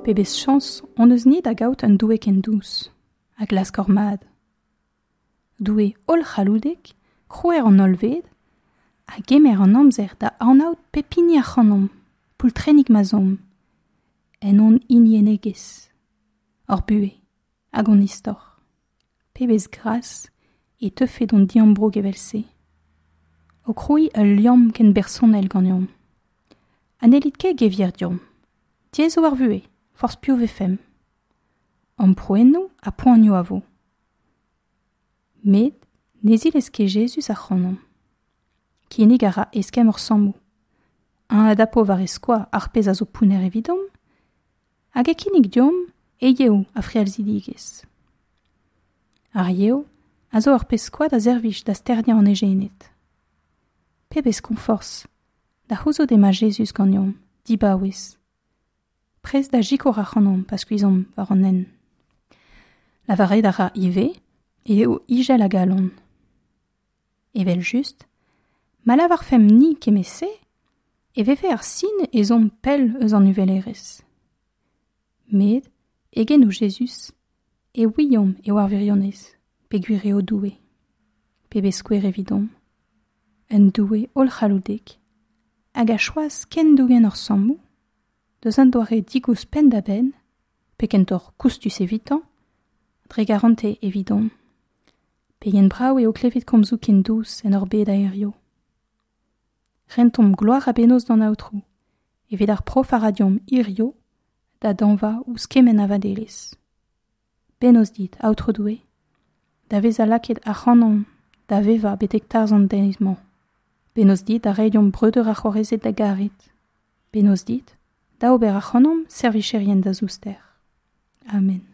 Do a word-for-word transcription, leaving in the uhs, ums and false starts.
Pebezh chañs hon eus ni da gaout un Doue ken dous, a glask hor mad. Doue hollc'halloudek, krouer an hollved, a gemer an amzer da anaout pep hini ac'hanomp, poultrennig ma'z omp, en hon hiniennegezh, hor buhez hag hon istor. Pebezh gras e teufe d'hon diambroug evel-se. O krouiñ ul liamm ken bersonel ganeomp. Ha n'hellit ket gevier deomp. Diaes eo ar vuhez, forzh piv 'vefemp. Amprouennoù ha poanioù a vo. Met ne zilez ket Jezuz ac'hanomp. Kinnig a ra eskemm hor sammoù. Eñ a dapo war e skoaz ar pezh a zo pounner evidomp, hag e kinnig deomp e yev a frealzidigezh. Ar yev a zo ur pezh koad a servij da sterniañ an ejened. Pebezh koñforzh da c'houzout emañ Jezuz ganeomp, dibaouez. Prest da sikour ac'hanomp pa skuizhomp war an hent. Lavaret a ra ivez eo izel a galon. Evel-just, ma lavarfemp ni kement-se, e vefe ar sin ez omp pell eus an uvelerezh. Met, e genoù Jezuz, e ouiomp eo ar wirionez, peogwir eo Doue. Pebezh skouer evidomp. Un Doue hollc'halloudek, hag a choaz ken dougen hor sammoù, deus un doare digoust penn-da-benn, pe kentoc'h koustus evitañ, dre garantez evidomp. Pegen brav eo klevet komzoù ken dous en hor bed a hiziv. Rentomp gloar ha bennozh d'an Aotrou, evit ar prof a ra deomp hiziv da dañva ouzh kement a vadelezh. Bennozh dit, Aotrou Doue, da vezañ lakaet ac'hanomp da vevañ betek tarzh an deiz-mañ. Bennozh dit da reiñ deomp breudeur ha c'hoarezed da garet. Bennozh dit da ober ac'hanomp servijerien da zouster. Amen.